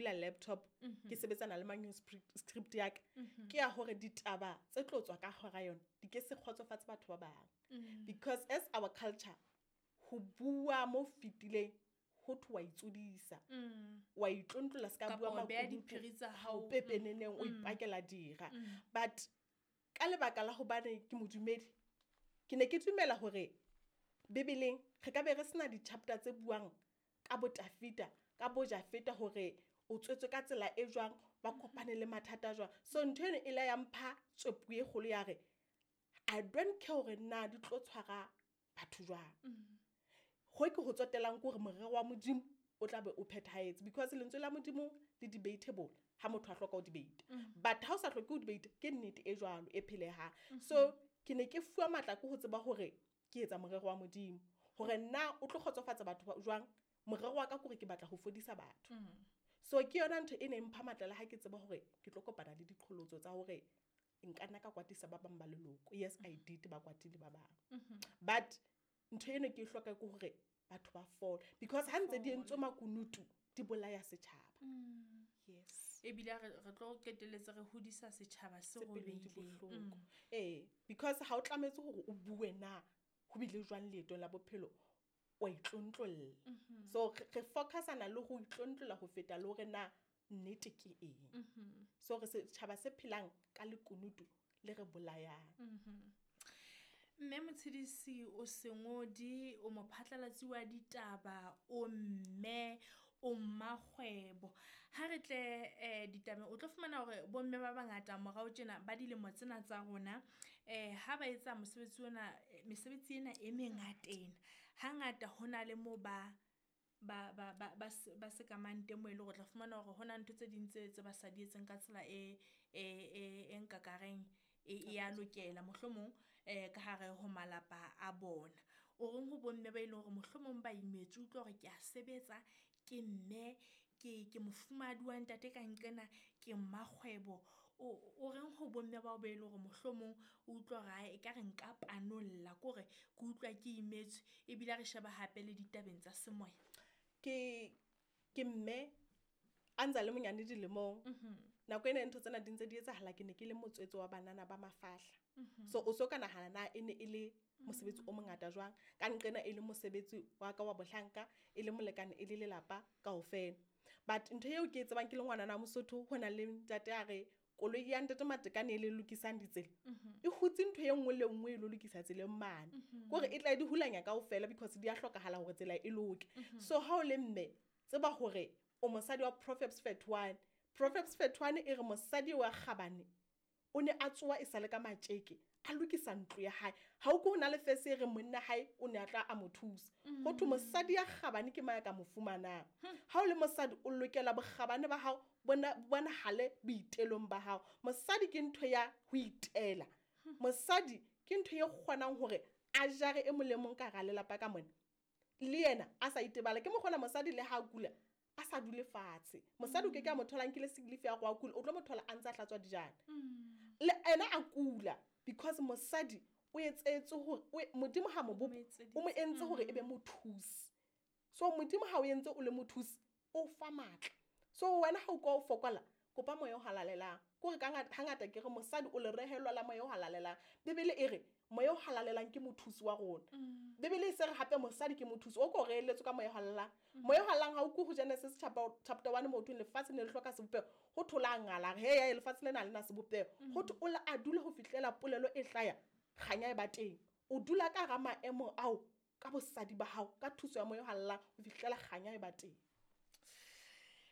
bula laptop ke sebetsana le manuscript ya ka, ke ya hore ditaba tse tlo tswa ka hora yona di ke se kgotsofatse batho ba bang. Because as our culture, ho bua mo fetileng ho thwe wa itsodisa, wa itlontlola se ka bua Kapa o beha makunutu, diphiri tsa ha o hao. pepeneneng, o ipakela dira. But ka lebaka la hobane ke modumedi, ke ne ke dumela hore Bibeleng re ka be re sena di-chapter tse buang ka bo Tafita, ka bo Jafeta hore o tswetswe ka tsela e jwang, ba kopane le mathata jwang. So ntho eno e la ya mpha tswepu e kgolo ya re I don't care hore na di tlo tshwara batho jwang. Ho ke ho tsotellang ke hore morero wa Modimo o tla be o phethahetse, because lentswe la Modimo le debatable ha motho a hloka ho debate. But ha o sa hloke ho debate, ke nnete e jwalo e phelehang. So ke ne ke fuwa matla ke ho tseba hore ke etsa morero wa Modimo, hore nna o tlo kgotsofatsa batho ba jwang. Morero wa ka ke hore ke batla ho fodisa batho. So ke yona ntho e neng mpha matla le ha ke tseba hore ke tlo kopana le diqholotso tsa hore nka nna ka kwatisa ba bang ba leloko. Yes, I did, ba kwatile ba bang. But ntho eno ke e hloka ke hore batho ba fole, because ha ntse di entswe makunutu di bolaya setjhaba. Yes. Ebile re tlo qetelletse re hodisa setjhaba se Se pelong di robehileng. bohloko. Because ha o tlametse hore o bue na ho bile jwang leetong la bophelo, wa itlontlolla. So re focusana le ho itlontlolla ho feta le hore na nnete ke eng. So re setjhaba se phelang ka lekunutu le re bolayang. Mme Motshidisi, o sengodi, o mophatlalatsi wa ditaba, o mme, o mmakgwebo. Ha re tle ditabeng, o tlo fumana hore bomme ba bangata morao tjena ba dilemo tsena tsa rona, ha ba etsa mosebetsi ona, mesebetsi ena e mengata ena, hangata ho na le moo ba sekamang teng moo e leng hore o tla fumana hore ho na ntho tse ding tse ba sa di etseng ka tsela e nkakareng e ya lokela mohlomong, ka hare ho malapa a bona. O reng ho bomme ba e leng hore mohlomong ba imetswe, utlwa hore ke a sebetsa, ke mme, ke mofumahadi wa ntate ka nqena, ke mmakgwebo. O reng ho bomme bao ba e leng hore mohlomong o utlwa hore ae, ekare nka panolla, ke hore ke utlwa ke imetswe, ebile ha re sheba hape le ditabeng tsa semoya. Ke mme a ntsa le monyane dilemong. Nako ena ntho tsena di ntse di etsahala, ke ne ke le motswetse wa banana ba mafahla. So o so ka nahana na e ne e le mosebetsi o mongata jwang, ka nqena e le mosebetsi wa ka wa bohlanka, e le molekane, e le lelapa kaofela. But ntho eo ke e tsebang ke le ngwanana wa Mosotho, ho na le ntate a re koloi ya ntate Matekane e le lokisang ditsela, e hutse ntho e nngwe le nngwe e lo lokisa tseleng mane. Kore e tla di hulanya kaofela because di a hlokahala hore tsela e loke. So ha o le mme, tseba hore o mosadi wa Proverbs 31. Proverbs 31 e re mosadi wa kgabane o ne a tsoha e sale ka matjeke, a lokisa ntlo ya hae. Ha o ko ho na le fese e re monna hae o ne a tla a mo thusa. Ho thwe mosadi ya kgabane ke mang ya ka mo fumanang. Ha o le mosadi o lokela bokgabane ba hao bonahale boitelong ba hao. Mosadi ke ntho ya ho itela. Mosadi ke ntho e kgonang hore a jare e mong le mong ka hara lelapa ka mona. Le yena a sa itebala. Ke mokgona mosadi le ha a kula a sa dule fatshe. Mosadi o ke ke a mo thola nkile sick leave ya go a kula, o tlo mo thola a ntse a hlatswa dijana. Le ena a kula because mosadi o etsetse hore, o e, Modimo ha mo bopa, o mo entse hore e be mothusi. So Modimo ha o entse o le mothusi, o fa matla. So wena ha o kwa o fokola, kopa moya o halalelang. Ke hore ka hangata ke re mosadi o le rehelwa la moya o halalelang. Bibele e re moya o halalelang ke mothusi wa rona. Bibele e se re hape mosadi ke mothusi, o ko reheletswe ka moya o halalelang. Moya o halalelang ha o kwe ho Genesis chapter 1 mo thweng lefatshe ne le hloka sebopeho, ho thola ngala, re, hey, hey, lefatshe lena ha le na sebopeho. Ho thwe o la a dula ho fihlela polelo e hlaya, kganya e ba teng. O dula ka hara maemo ao ka bosadi ba hao, ka thuso ya moya o halalelang ho fihlela kganya e ba teng.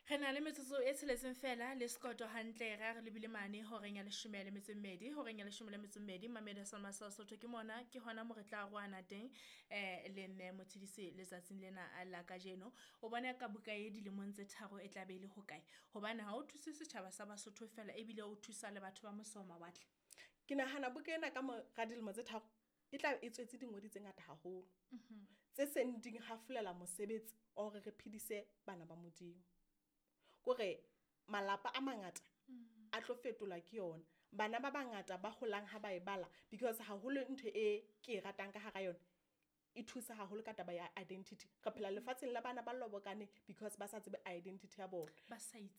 Re na le metsotso e tsheletseng fela le sekoto hantle, re a re lebile mane horeng ya leshome le metso e mmedi, horeng ya leshome le metso e mmedi, Mamedi Salma sa Sotho ke mona, ke hona mo re tla roana teng, le mme Motshidisi letsatsing lena la kajeno. O bona ka buka e dilemong tse 3 e tla be e le hokae? Hobane ha o thuse setjhaba sa Basotho fela, ebile o thusa le batho ba mose ho mawatle. Ke nahana buka ena ka mora dilemo tse 3 e tla e tswetse dingodi tse ngata haholo. Tse seng di hafolela mosebetsi wa hore re phedise bana ba Modimo. Kore malapa a mangata a tlo fetolwa ke yona. Bana ba bangata ba holang ha ba e bala, because haholo ntho e ke e ratang ka hara yona, e thusa haholo ka taba ya identity. Re phela lefatsheng la bana ba lobokane because ba sa tsebe identity ya bona. Ba sa itse.